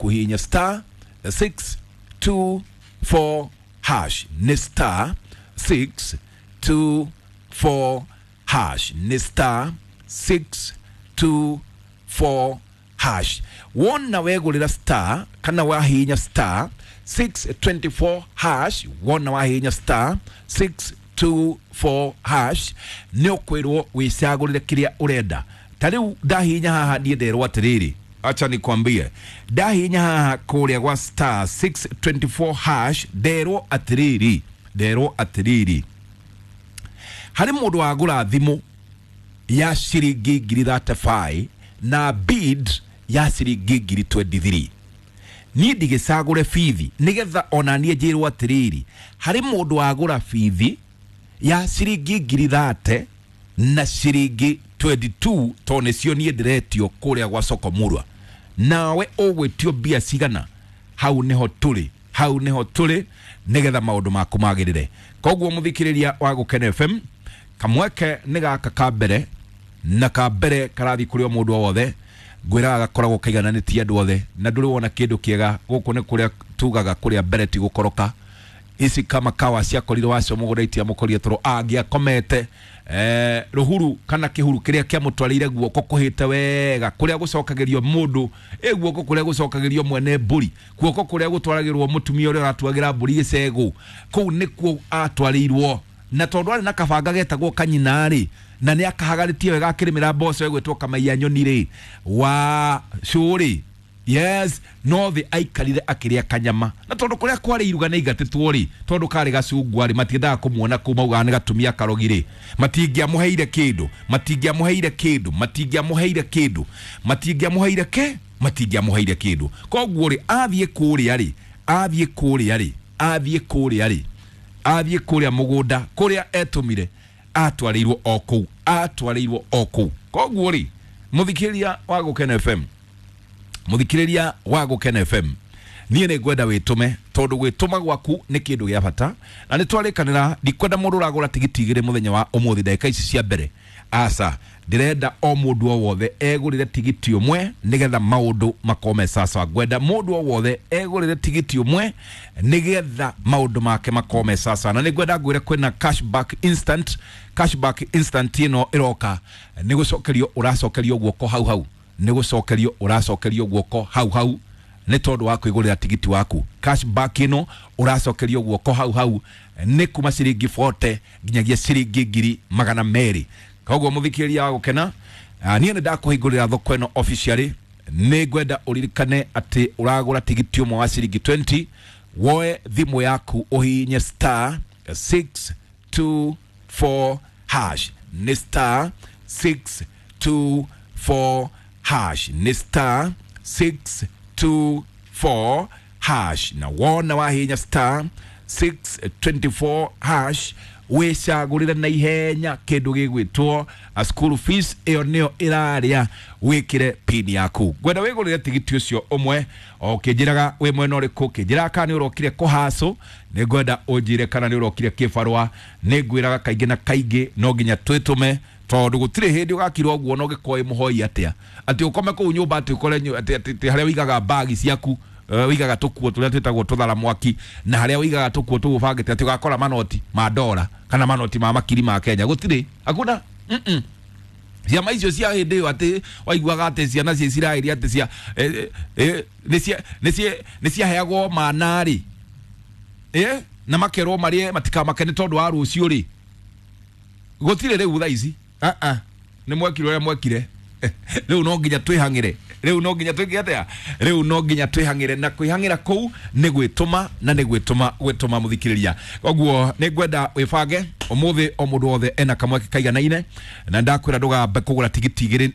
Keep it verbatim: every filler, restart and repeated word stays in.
Ũkũhihinya star six two four hash, nĩ star six two four hash, nĩ star six two four hash. Wona wegũrĩra star kana wahihinya star six twenty four hash, wona wahihinya star six two four hash, nĩ ũkwĩrwo wĩcagũrĩre kĩrĩa ũrenda. Ta rĩu ndahihinya haha niĩ nderwo atĩrĩrĩ, acha nikwambie, ndahihinya haha kũrĩa gwa star six twenty four hash, nderwo atĩrĩrĩ, nderwo atĩrĩrĩ, harĩ mũndũ wagũra thimũ ya ciringi ngiri thirty five na bid ya ciringi ngiri twenty three. Niĩ ndigĩcagũre bithi nĩgetha ona niĩ njĩrwo atĩrĩrĩ, harĩ mũndũ wagũra bithi ya ciringi ngiri thirty na ciringi twenty two, tondũ nĩcio niĩ ndĩretio kũrĩa gwa Soko Murwa. Nawe ũgwĩtio mbia cigana? Hau nĩho tũrĩ, hau nĩho tũrĩ nĩgetha maũndũ maku magĩrĩre. Koguo mũthikĩrĩria wa Gũkena F M, kamweke nĩ gaka ka mbere na ka mbere karathiĩ kũrĩ o mũndũ o wothe. Ngwĩraga gakoragwo kaigananĩtie andũ othe, na ndũrĩ wona kĩndũ kĩega gũkũ nĩ kũrĩa tugaga kũrĩa mbere ti gũkoroka. Ici kama kawa ciakorirwo wacio mũgũnda itiamũkorire tondũ angĩakomete, eh, rũhuru kana kĩhuru kĩrĩa kĩamũtwarĩire guoko kũhĩte wega, kũrĩa gũcokagĩrio mũndũ, ĩ guoko kũrĩa gũcokagĩrio mwene mbũri, guoko kũrĩa gũtwaragĩrwo mũtumia ũrĩa ũratuagĩra mbũri gĩcegũ, kũu nĩkuo atwarĩirwo. Na tondũ arĩ na kabanga getagwo kanyina rĩ, na nĩ akahagarĩtie wega akĩrĩmĩra mboco ĩgwĩtwo kamaiya nyoni rĩ, wa cũrĩ, yes, no thĩ aikarire akĩrĩa kanyama. Na tondũ kũrĩa kwarĩ iruga nĩ aigatĩtwo rĩ, tondũ karĩ gacungwa rĩ, matiendaga kũmuona kũu, maugaga nĩ gatumia karogi rĩ, matingĩamũheire kĩndũ, matingĩamũheire kĩndũ, matingĩamũheire kĩndũ, matingĩamũheire kĩ, matingĩamũheire kĩndũ. Koguo rĩ, athiĩ kũrĩa rĩ, athiĩ kũrĩa rĩ, athiĩ kũrĩa rĩ, athiĩ kũrĩa mũgũnda kũrĩa etũmire, atwarĩirwo o kũu, atwarĩirwo o kũu. Koguo rĩ, mũthikĩrĩria wa Gũkena F M, mũthikĩrĩria wa Gũkena F M, niĩ nĩ ngwenda wĩtũme, tondũ gwĩtũma gwaku nĩ kĩndũ gĩa bata. Na nĩ twarĩkanĩra, ndikwenda mũndũ ũragũra tigiti igĩrĩ mũthenya wa ũmũthĩ ndagĩka ici cia mbere. Aca, ndĩrenda o mũndũ o wothe egũrĩre tigiti ũmwe nĩgetha maũndũ makome sawa. Ngwenda mũndũ o wothe egũrĩre tigiti ũmwe nĩgetha maũndũ make makome sawa. Na nĩngwenda ngwĩre kwĩna cashback instant, cashback instant ĩno ĩroka nĩ gũcokerio ũracokerio guoko hau hau, nĩ gũcokerio ũracokerio guoko hau hau nĩ tondũ wa kwĩgũrĩra tigiti waku. Cashback ĩno ũracokerio guoko hau hau nĩ kuma ciringi forty nginyagia ciringi ngiri magana merĩ. Koguo mũthikĩrĩria wa Gũkena, niĩ nĩ ndakũhingũrĩra thoko ĩno officially. Nĩ ngwenda ũririkane atĩ ũragũra tigiti ũmwe wa ciringi twenty, woe thimũ yaku ũhihinye star six two four hash, nĩ star six two four hash, nĩ star six two four hash. Na wona wahihinya star six twenty four hash, wĩcagũrĩre na ihenya kĩndũ gĩgwĩtwo a school fees, ĩyo nĩyo ĩrarĩa, wĩkĩre pin yaku. Ngwenda wĩgũrĩre tigiti ũcio ũmwe, o ũkĩnjĩraga wĩ mwena ũrĩkũ, ũkĩnjĩraga kana nĩ ũrokire kũhacũ, nĩ ngwenda ũnjĩre kana nĩ ũrokire kĩbarũa. Nĩ ngwĩraga kaingĩ na kaingĩ no nginya twĩtũme, tondũ gũtirĩ hĩndĩ ũgakirwo ũguo na ũgĩkorwo wĩ mũhoi atĩa, atĩ ũkome kũu nyũmba, atĩ ũkore nyu-, atĩ, atĩ, atĩ harĩa ũigaga mbagi ciaku, eh, ũigaga tũkuo tũrĩa twĩtagwo tũthara mwaki, na harĩa ũigaga tũkuo tũgũbangĩte atĩ ũgakora manoti ma ndora kana manoti ma makiri ma Kenya. Gũtirĩ, hakuna. Mm-mm. Ciama icio cia hĩndĩ ĩyo atĩ waiguaga atĩ ciana cia Isiraeli atĩ cia, eh, eh, nĩ cia, nĩ cia, nĩ ciaheagwo mana rĩ, eh, na makerwo marĩe matikamake nĩ tondũ wa rũciũ rĩ, gũtirĩ rĩu thaa ici. Ah, ah. Nĩ mwekire ũrĩa mwekire. Rĩu no nginya twĩhang'ĩre, rĩu no nginya twĩke atĩa, rĩu no nginya twĩhang'ĩre, na kwĩhang'ĩra kũu nĩ gwĩtũma, na nĩ gwĩtũma, gwĩtũma mũthikĩrĩria. Koguo nĩ ngwenda wĩbange ũmũthĩ, o mũndũ wothe ena kamweke kaiganaine, na ndakwĩra ndũgambe kũgũra tigiti igĩrĩ.